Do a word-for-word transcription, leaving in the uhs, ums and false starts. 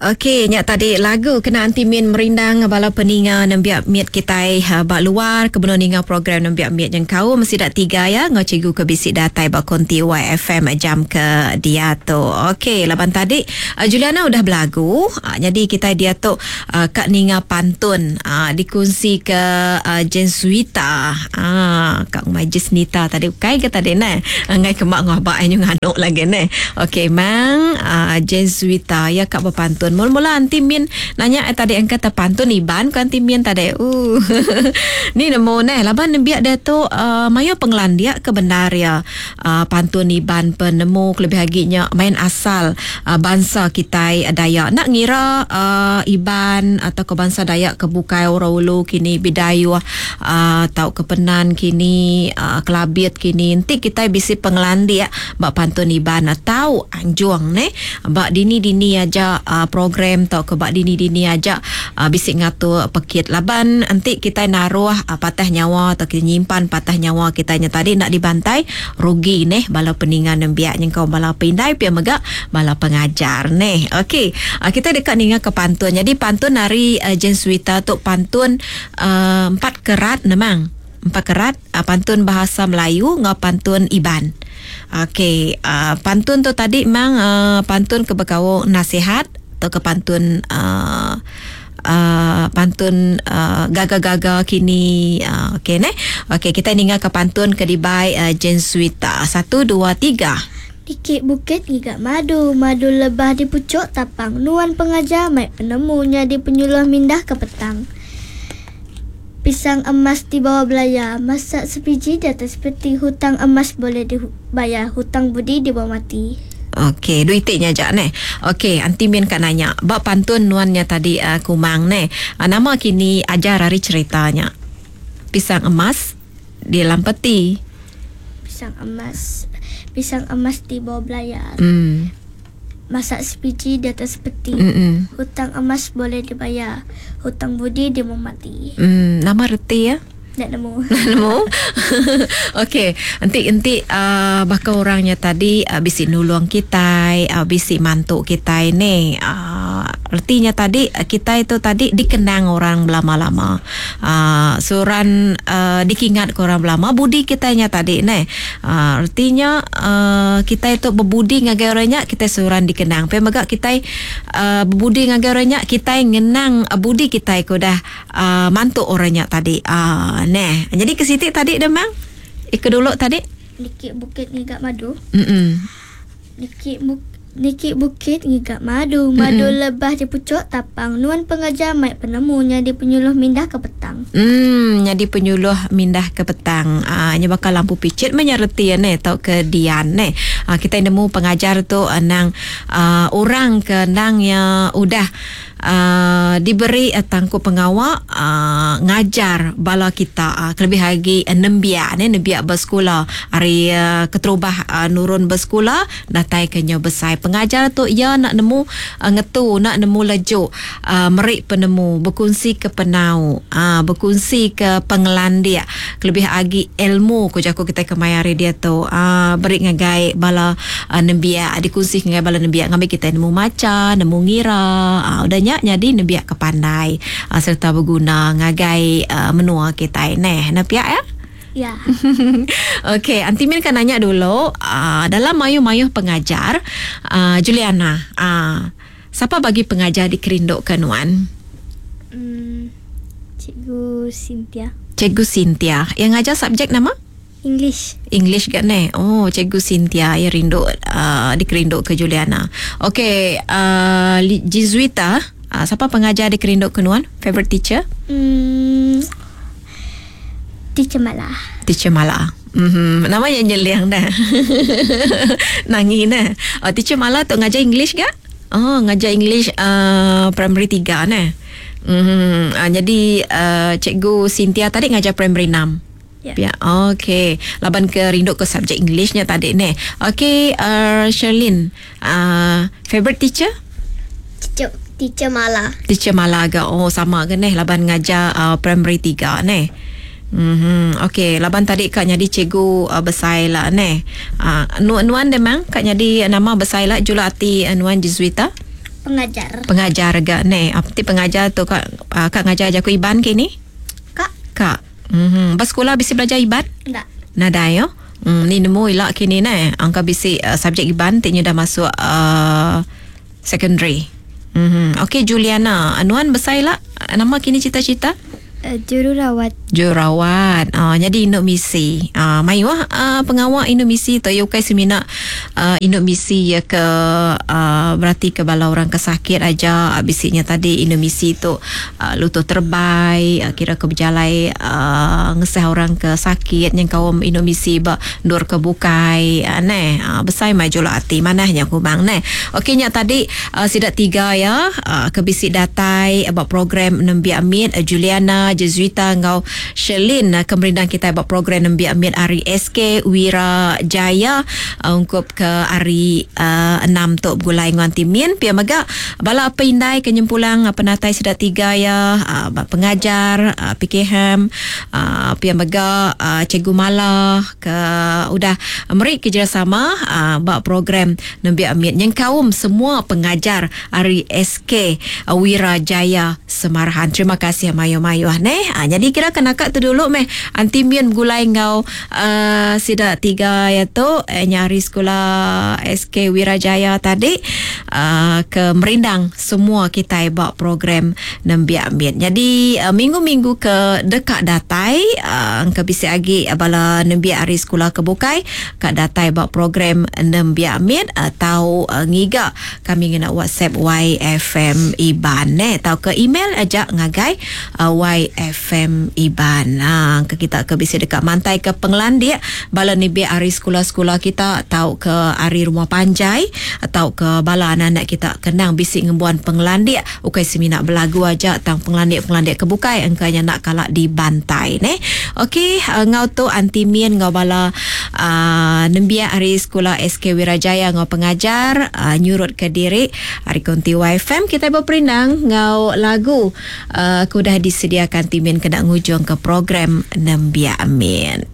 Okey, nya tadi lagu kena anti min merindang bala peninga nembiak mit kitai ha, ba luar kebenar ninga program nembiak mit yang kau mesti dak tiga ya ngau cikgu ke bisi datai ba konti Y F M jam ke dia tu. Okey, laban tadi uh, Juliana udah belagu, uh, jadi kita dia tu uh, kak ninga pantun uh, dikongsi ke uh, Jensuita. Ah, kak Majis Nita tadi kai ke tadi ne. Ngai kemak ngah ba nyu nganuk lagi ne. Okey, mang uh, Jensuita ya kak berpantun. Mula-mula anti min nanya eh, tadi angkat pantun Iban ko anti min tadi. Uh. Ni nemu ne laban nembiak dia tu uh, mayu penglandia ke benar ya. Uh, pantun Iban penemu kelebih lagi nya main asal uh, bangsa kita Dayak. Nak ngira uh, Iban atau ke bangsa Dayak ke bukai orang ulu kini Bidayuh uh, atau ke Penan kini uh, Kelabit kini nanti kita bisi penglandia bak pantun Iban atau anjuang ne bak dini-dini aja uh, program atau ke bak dini-dini aja uh, bisik ngatur pekit laban nanti kita naruh uh, patah nyawa atau kita nyimpan patah nyawa kita nya tadi nak dibantai rugi neh bala peningan nembiak nyengkau bala pindai pia mega bala pengajar neh. Okey, uh, kita dekat ninga ke pantun. Jadi pantun hari uh, Jensuita tu pantun uh, empat kerat memang empat kerat, uh, pantun bahasa Melayu ngau pantun Iban. Okey, uh, pantun tu tadi memang uh, pantun ke berkau nasihat atau ke pantun uh, uh, pantun uh, gaga-gaga kini, uh, okey ne. Okey, kita ninga ke pantun ke dibai uh, Jensuita. Satu, dua, tiga. Dikit bukit giga madu, madu lebah di pucuk tapang. Nuan pengajar mai penemunya di penyuluh mindah ke petang. Pisang emas di bawah belaya, masak sebiji di atas peti. Hutang emas boleh dibayar, hutang budi dibawa mati. Okey, duitnya aja ne. Okey, anti min kat nanya. Bab pantun nuannya tadi uh, kumang ne. Uh, nama kini ajar hari ceritanya. Pisang emas di dalam peti. Pisang emas, pisang emas di bawah belayar. Hmm. Masak sebiji di atas peti. Mm-mm. Hutang emas boleh dibayar, hutang budi dia mau mati. Hmm, nama reti ya? Tak nemu. Nemu. Okey, enti enti uh, bakal orangnya tadi uh, bisi nulung kita, uh, bisi mantuk kita ni. Uh, artinya tadi uh, kita itu tadi dikenang orang lama-lama. Uh, suran uh, dikingat ke orang lama budi kitanya tadi ne. Uh, artinya uh, kita itu berbudi ngagai orangnya kita suran dikenang. Pe mega kita uh, berbudi ngagai orangnya kita ngenang uh, budi kita ku dah uh, mantuk orangnya tadi. Uh, neh. Jadi ke situ tadi dah mang? Ikut dulu tadi. Dikit bukit ngigak madu. Mm-mm. Dikit buk Dikit bukit ngigak madu, madu Mm-mm. lebah di pucuk tapang. Nuan pengajar mai penemunya di penyuluh mindah ke petang. Hmm, jadi penyuluh mindah ke petang. Ah, uh, bakal lampu picit menyerti ya ne tau ke dian ne. Ah, uh, kita nemu pengajar tu uh, nang uh, orang ke nang ya udah uh, diberi uh, tangkup pengawak uh, ngajar bala kita uh, kelebih lagi uh, nembiak ne nembiak bersekolah hari uh, keterubah uh, nurun bersekolah datai ke nyo besai. Pengajar tu ya nak nemu uh, ngetu nak nemu lejuk uh, merik penemu berkongsi ke penau, uh, berkongsi ke pengelandia kelebih lagi ilmu ku jaku kita kemayari dia tu uh, beri ngagai bala uh, nembiak dikongsi ngagai bala nembiak ngambil kita nemu maca nemu ngira uh, udahnya jadi nembiak kepandai uh, serta berguna ngagai uh, menua kita neh nak ya. Ya. Okey, Aunty Min kan nanya dulu, uh, dalam mayu-mayu pengajar, uh, Juliana, uh, siapa bagi pengajar di Kerinduk ke Nuan? Hmm, Cikgu Cynthia. Cikgu Cynthia. Yang ngajar subjek nama? English. English kan ne? Oh, Cikgu Cynthia yang rindu uh, dikerinduk ke Juliana. Okey, uh, Jizuita, uh, siapa pengajar di Kerinduk ke Nuan? Favorite teacher? Hmm, Teacher Mala. Teacher Mala. Mm-hmm. Namanya nyeliang dah. Nangis dah. Oh, Teacher Mala tu ngajar English ke? Oh, ngajar English uh, primary tiga ne. Mm-hmm. Uh, jadi uh, Cikgu Cynthia tadi ngajar primary enam. Ya. Ya, okey. Laban ke rinduk ke subjek Englishnya tadi ni. Okey, uh, Sherlyn, uh, favorite teacher? Teacher, teacher Mala. Teacher Mala ke? Oh, sama ke ni laban ngajar uh, primary tiga ni. Mhm. Okey, laban tadi kak nyadi cikgu uh, besai lah ne. Uh, nu nuan demang kak nyadi nama besai lah jula ati uh, nuan Jesuita. Pengajar. Pengajar ga ne. Apa ti pengajar tu kak uh, kak ngajar jaku Iban kini? Kak. Kak. Mhm. Ba sekolah bisi belajar Iban? Enggak. Nadai yo. Hmm, ni nemu ilak kini ne. Angka bisi uh, subjek Iban ti nya dah masuk uh, secondary. Mhm. Okey Juliana, anuan besai lah. Nama kini cita-cita? Uh, jururawat. Jururawat. Ah, jadi induk misi. Ah, mayu ah uh, pengawak induk misi tu ya ukai semina uh, induk misi ya ke uh, berarti ke bala orang ke sakit aja. Bisinya tadi induk misi tu uh, lutut terbai, uh, kira ke berjalai uh, ngesah orang ke sakit yang kaum induk misi ba ndur ke bukai. Uh, neh, uh, besai maju lah ati manahnya ku bang neh. Okey nya tadi uh, sidak tiga ya uh, ke bisi datai about program Nembiak Mit uh, Juliana, Jesuita ngau Sherlyn uh, kemerindang kita buat program Nembiak Mit hari S K Wira Jaya uh, ungkup ke hari uh, enam tok gulai nguan timin pia mega bala apa indai kenyempulang uh, penatai sedak tiga ya uh, pengajar uh, P K M uh, pia mega uh, Cikgu Mala ke udah meri kerjasama uh, buat program Nembiak Mit yang kaum semua pengajar hari S K uh, Wira Jaya Semarahan. Terima kasih mayo-mayo neh. Ha, jadi kira kena kak tu dulu meh anti mian gulai ngau uh, sidak tiga ya tu eh, nyari sekolah S K Wirajaya tadi uh, ke merindang semua kita buat program Nembiak Mit. Jadi uh, minggu-minggu ke dekat datai uh, ke bisi agi bala nembiak hari sekolah ke bukai kat datai buat program Nembiak Mit atau uh, ngiga kami ngena WhatsApp Y F M Iban neh atau ke email aja ngagai uh, Y F M Iban. Ha, ke kita ke bisi dekat mantai ke penglandik bala ni bi hari sekolah-sekolah kita atau ke hari rumah panjai atau ke bala anak-anak kita kenang bisi ngembuan penglandik ukai semina belagu aja tang penglandik-penglandik ke bukai engkanya nak kalak dibantai ne. Okey, uh, ngau tu anti mien ngau bala uh, nembiak hari sekolah S K Wirajaya ngau pengajar uh, nyurut ke diri hari konti Y F M kita berperindang ngau lagu uh, kudah disediakan timin kena ngujung ke program Nembiak Min.